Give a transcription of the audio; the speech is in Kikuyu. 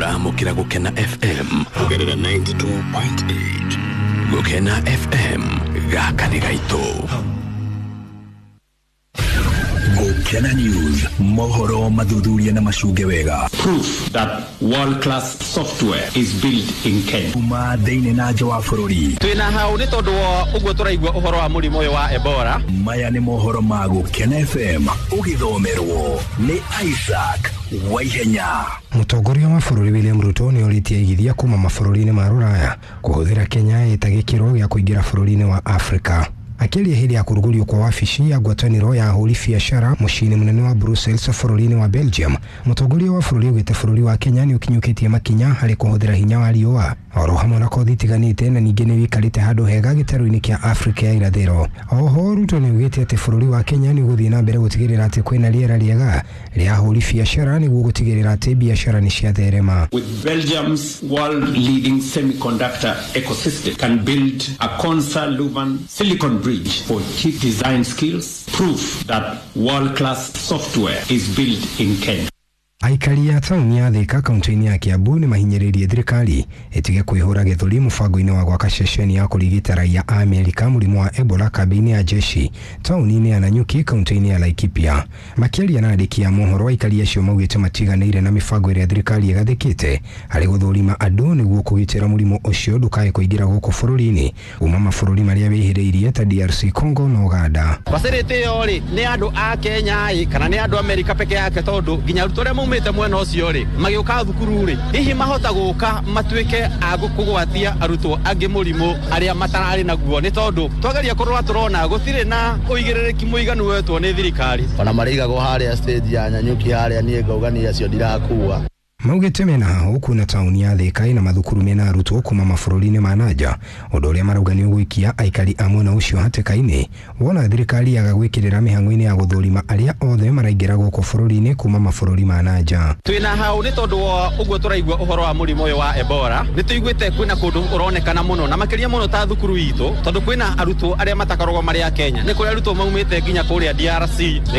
Ũramũkĩra Gũkena FM kũgerera 92.8. Gũkena FM, gaka nĩ gaitũ. Gũkena News, mohoro mathuthuria na macunge wega. Proof that world class software is built in Kenya. Kuma thĩinĩ na nja wa bũrũri. Twĩna hau nĩ tondũ wa ũguo tũraigua ũhoro wa mũrimũ ũyũ wa Ebola. Maya nĩ mohoro ma Gũkena FM, ũgĩthomerwo nĩ Isaac Waihenya. Mũtongoria wa bũrũri William Ruto nĩ orĩtie aigithia kuma mabũrũri-inĩ ma Rũraya kũhũthĩra Kenya ĩta gĩkĩro gĩa kũingĩra bũrũri-inĩ wa Afrika. Akĩaria hĩndĩ ya kũrugũrio kwa wabici ya ngwatanĩro ya ahũri biacara mũciĩ-inĩ mũnene wa Brussels bũrũri-inĩ wa Belgium, mũtongoria wa bũrũri augĩte bũrũri wa Kenya nĩ ũkinyũkĩtie makinya harĩ kũhũthĩra hinya wa riũa oro hamwe na kothi itiganĩte, na ningĩ nĩ wĩikarĩte handũ hega gĩtarũ-inĩ kĩa Afrika ya irathĩro. Oho Ruto nĩ augĩte atĩ bũrũri wa Kenya nĩ ũgũthiĩ na mbere gũtigĩrĩra atĩ kwĩna rĩera rĩega rĩa ahũri biacara nĩguo gũtigĩrĩra atĩ biacara nĩ ciatherema. With Belgium's world leading semiconductor ecosystem can build a Konsa Luban silicon bridge for chip design skills, proof that world class software is built in Kenya. Aikari a taũni ya Thika kaunti-inĩ ya Kiambu nĩ mahinyĩrĩirie thirikari ĩtige kwĩhũra gĩthũri mũbango-inĩ wa gwaka ceceni ya kũrigita raia a Amerika mũrimũ wa Ebola kambĩ-inĩ ya jeshi taũni-inĩ ya Nanyuki kaunti-inĩ ya Laikipia. Makĩaria na andĩki a mohoro, aikari acio maugĩte matiganĩire na mĩbango ĩrĩa thirikari ĩgathĩkĩte harĩ gũthũrima andũ nĩguo kũgitĩra mũrimũ ũcio ndũkae kũingĩra gũkũ bũrũri-inĩ kuma mabũrũri marĩa wĩhĩrĩirie ta DRC Congo na Uganda. Facility ĩyo rĩ, nĩ andũ a Kenya ĩ kana nĩ andũ Amerika peke yake, tondũ nginya arutwo arĩa maumĩte mwena ũcio rĩ, magĩũka thukuru rĩ, hihi mahota gũka matuĩke a kũgwatia arutwo angĩ mũrimũ arĩa matararĩ naguo, nĩ tondũ twageria kũrora tũrona gũtirĩ na ũigĩrĩrĩki mũiganu wetwo nĩ thirikari. Ona marĩigagwo harĩa stage ya Nanyuki harĩa, niĩ ngauga niĩ acio ndirakua. Maugĩte mena hahũ kuna taũni ya Thika ĩna mathukuru mena arutwo kuma mabũrũri-inĩ ma nanja, ũndũ ũrĩa marauga nĩ ũgũikia aikari a mwena ũcio hatĩka-inĩ wona thirikari yaga gwĩkĩrĩra mĩhang'o-inĩ ya gũthũrima arĩa othe maraingĩra gũkũ bũrũri-inĩ kuma mabũrũri ma nanja. Twĩna hau nĩ tondũ wa ũguo tũraigua ũhoro wa mũrimũ ũyũ wa Ebola, nĩ tũiguĩte kwĩna kũndũ ũronekana mũno na makĩria mũno ta thukuru itũ, tondũ kwĩna arutwo arĩa matakoragwo marĩ a Kenya, nĩ kũrĩ arutwo maumĩte nginya kũrĩa DRC, nĩ